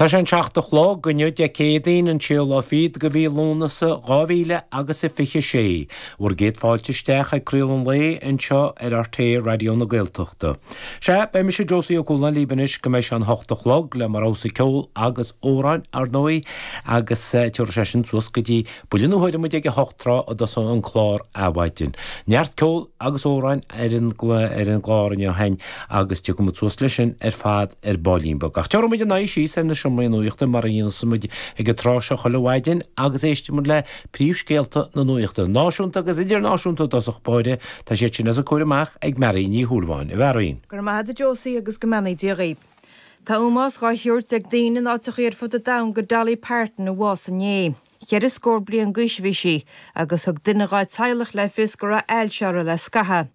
Tá sé an 7 a chlog inniu Dé Céadaoin an séú lá fichead de mhí Lúnasa 2000 agus a 26. Bhur gcéad fáilte isteach ag Craoladh an Lae anseo ar RTÉ Raidió na Gaeltachta. Sea, beidh mise Josie Ó Cualáin libh anois go mbeidh sé an hocht a chlog le mo rogha-sa ceol agus amhráin, ar ndóigh, agus tiúrfaidh sé sin suas go dtí buille na huaire 7:30 tráth a dtosóidh an clár Adhmhaidin. Neart ceoil agus amhráin ar an ar an gclár inniu féin agus tiocfaidh muid suas leis sin ar fad ar baillín beag. Ach tiúrfaidh muid an aghaidh síos ar na seomraí nuachta mar a dhéanas muid ag an tráth seo chuile mhaidin agus éistfidh muid le príomhscéalta na nuachta, náisiúnta agus idirnáisiúnta i dtosach báire. Tá siad sin os ár gcomhair amach ag Marion Ní Shúilleabháin. A Mharion. Go raibh maith agat a Josie agus go mbeannaí Dia dhaoibh. Tá ómós dhá thabhairt ag daoine in áiteachaí ar fud an domhain go Dolly Parton a bhásaigh inné. Cheithre scór bliain d'aois a bhí sí, agus thug duine dhá teaghlach le fios go raibh ailse uirthi le scaitheamh.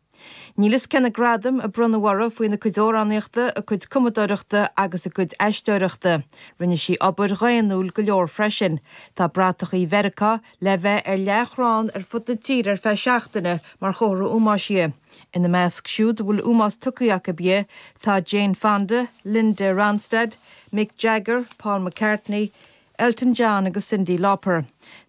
Níl fhios cé na gradaim a bronnadh uirthi faoina cuid amhránaíochta, a cuid cumadóireachta agus a cuid aisteoireachta. Rinne sí obair dhaonnúil go leor freisin. Tá bratachaí Mheiriceá le bheith ar leathchrann ar fud na tíre ar feadh seachtaine mar chomhartha ómóis di. Ina measc siúd a bhfuil ómós tugtha acu di tá Jane Fonda, Linda Ronstadt, Mick Jagger, Paul McCartney, Elton John agus Cyndi Lauper.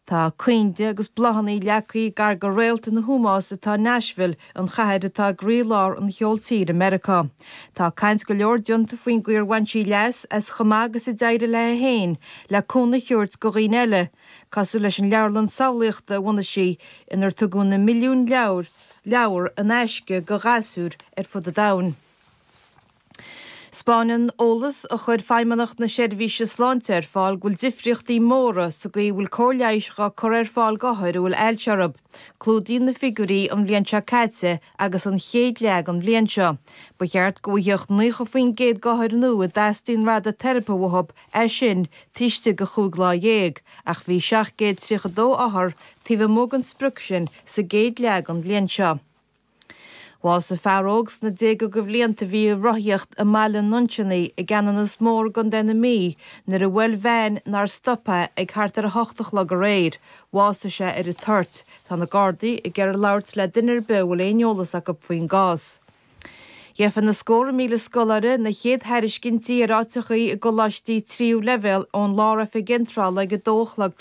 Tá coinnle agus bláthanna leagtha gar go réalt ina hómós atá i Nashville, an chathair atá i gcroí-lár an cheoil tíre i Meiriceá. Tá caint go leor déanta faoin gcaoi ar bhain sí leas as chomh maith agus a d'éirigh léi féin le cúnamh a thabhairt go dhaoine eile, cosúil leis an leabharlann samhlaíochta a bhunaigh sí inar tugadh na milliúin leabhar leabhar in aisce go ghasúir ar fud an domhain. 'Spáineann eolas a chuir Feidhmeannacht na Seirbhíse Sláinte ar fáil go bhfuil difríochtaí móra sa gcaoi a bhfuil cóir leighis dhá cur ar fáil d'othair a bhfuil ailse orthu. Clúdaíonn na figiúirí an bhliain seo caite agus an chéad leath den bhliain seo. Ba cheart go bhfaigheadh 90% d'othair nua a dteastaíonn radaiteiripe uathu é sin taobh istigh de chúig lá dhéag, ach bhí 732 othar taobh amuigh den sprioc sin sa gcéad leath den bhliain seo. Bhásaigh fear óg sna déaga de bhlianta a bhí ag rothaíocht i mBaile an Nuinseannaigh i gCeanannas Mór i gContae na Mí nuair a bhuail veain nár stop é ag thart ar 8 a chlog aréir. Bhásaigh sé ar an toirt. Tá na Gardaí ag iarraidh labhairt le duine ar bith a bhfuil aon eolas acu faoin gcás. Gheofa na scórtha míle scoláire na chéad thairiscintí ar áiteachaí i gcoláistí tríú leibhéal ón Lár-Oifig Iontrála ag 2 a chlog.